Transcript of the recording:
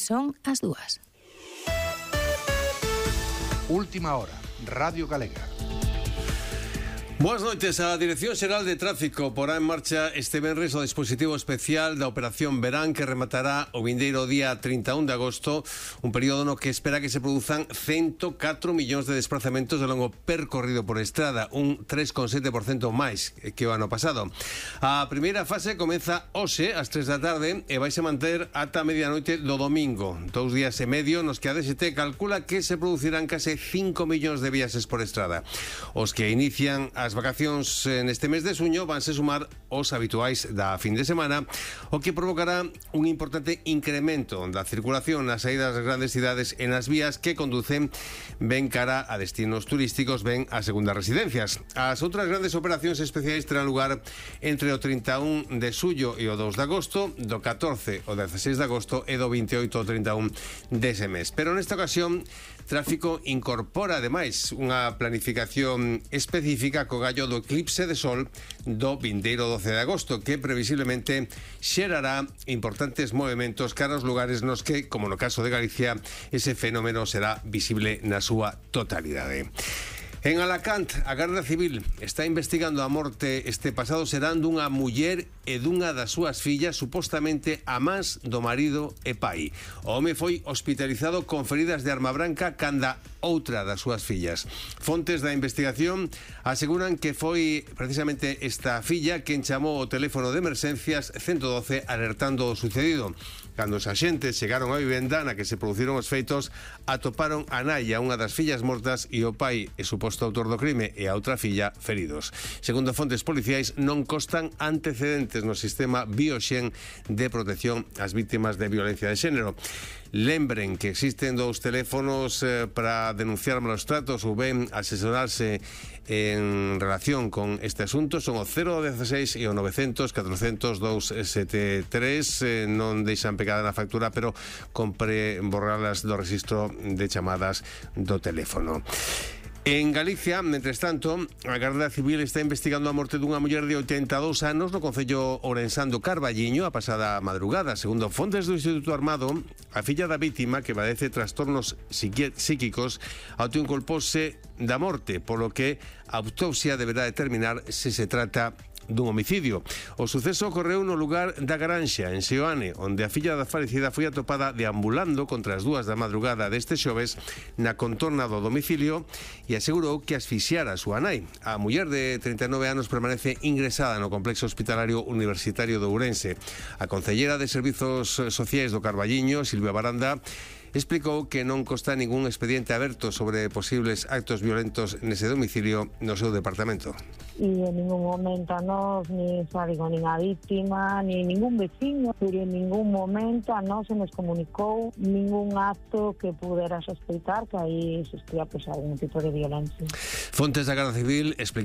son as 2. Última hora, Radio Galega. Boas noites. A Dirección Xeral de Tráfico porá en marcha este venres o dispositivo especial da Operación Verán, que rematará o vindeiro día 31 de agosto, un período no que espera que se produzan 104 millóns de desplazamentos de longo percorrido por estrada, un 3,7% máis que o ano pasado. A primeira fase comeza hoxe ás 3 da tarde e vaise manter ata medianoite do domingo, 2 días e medio nos que a DST calcula que se producirán case 5 millóns de viaxes por estrada. Os que inician as vacacións neste mes de xuño vanse sumar os habituais da fin de semana, o que provocará un importante incremento da circulación nas saídas das grandes cidades e nas vías que conducen ben cara a destinos turísticos, ben a segundas residencias. As outras grandes operacións especiais terán lugar entre o 31 de xullo e o 2 de agosto, do 14 ao 16 de agosto e do 28 ao 31 dese mes. Pero nesta ocasión, Tráfico incorpora ademais unha planificación específica co gallo do eclipse de sol do vindeiro 12 de agosto, que previsiblemente xerará importantes movementos cara aos lugares nos que, como no caso de Galicia, ese fenómeno será visible na súa totalidade. En Alacant, a Garda Civil está investigando a morte este pasado serán dunha muller e dunha das súas fillas, supostamente amás do marido e pai. O home foi hospitalizado con feridas de arma branca canda outra das súas fillas. Fontes da investigación aseguran que foi precisamente esta filla quen chamou o teléfono de emerxencias 112 alertando o sucedido. Cando os axentes chegaron á vivenda na que se produciron os feitos, atoparon a nai, unha das fillas mortas, e o pai e suposto autor do crime e a outra filla feridos. Segundo fontes policiais, non constan antecedentes no sistema Bioxen de protección ás vítimas de violencia de xénero. Lembren que existen 2 teléfonos para denunciar malos tratos ou ben asesorarse en relación con este asunto. Son o 016 e o 900 400 273. Non deixan pegada na factura, pero compre borralas do rexistro de chamadas do teléfono. En Galicia, mentres tanto, a Garda Civil está investigando a morte dunha muller de 82 anos no concello ourensán do Carballiño a pasada madrugada. Segundo fontes do Instituto Armado, a filla da vítima, que padece trastornos psíquicos, autoinculpose da morte, polo que a autopsia deberá determinar se se trata dun homicidio. O suceso ocorreu no lugar da Granxa, en Seoane, onde a filla da falecida foi atopada deambulando contra as 2 da madrugada deste xoves na contorna do domicilio e asegurou que asfixiara a súa nai. A muller de 39 anos permanece ingresada no complexo hospitalario universitario de Ourense. A concellera de Servizos Sociais do Carballiño, Silvia Baranda, explicou que non consta ningún expediente aberto sobre posibles actos violentos nese domicilio no seu departamento. E en ningún momento a nós, nin a vítima, ni ningún veciño, pero en ningún momento a nós se nos comunicou ningún acto que pudera sospeitar que aí existía algún tipo de violencia. Fontes da Garda Civil explicaron